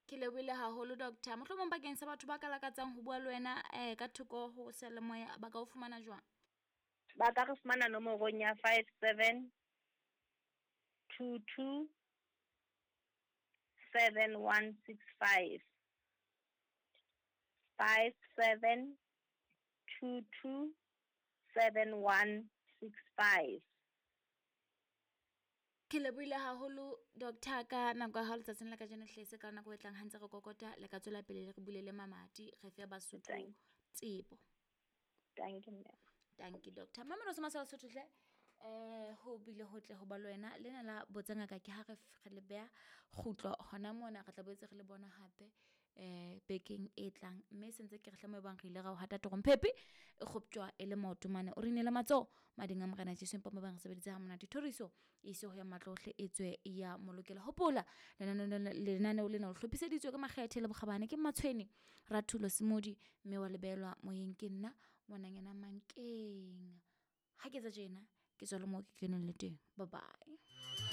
Ke lebohile haholo, doctor. Mohlomong bakeng sa batho ba ka lakatsang ho bua le wena ka thoko ho seyalemoya, ba ka o fumana jwang? Ba ka re fumana nomorong ya 57 22 7165. 57 22 7165. Ke lebohile haholo, doctor, ka nako ya hao letsatsing la kajeno. Hlese ka nako e tlang ha ntse re kokota, le ka tswela pele le re bulele mamati, re fe Basotho tsebo. Dankie, mme. Dankie, doctor. Mamelo se masala Sotho hle. Ho bile hotle ho ba le wena. Lena la Botsa Ngaka ke ha re re le beha kgutlo hona mona, re tla boetse re le bona hape bekeng e tlang, mme se ntse ke re hle mo e bang re ile ra o hata torong phepi e kgoptjwa e le maoto mane, o re inele matsoho mading a Morena Jesu, empa mo bang re sebeditse ha monate. Thoriso e ise ho ya matlohle e tswe ya molokela. Hopola lenaneo lena o hlophiseditswe ka makgethe le bokgabane ke Matshweni Rathulo Semodi, mme wa lebelwa moyeng ke nna ngwananyana Mankeng. Ha ke etsa tjena ke tswa le mo ke keneng le teng. Bye bye.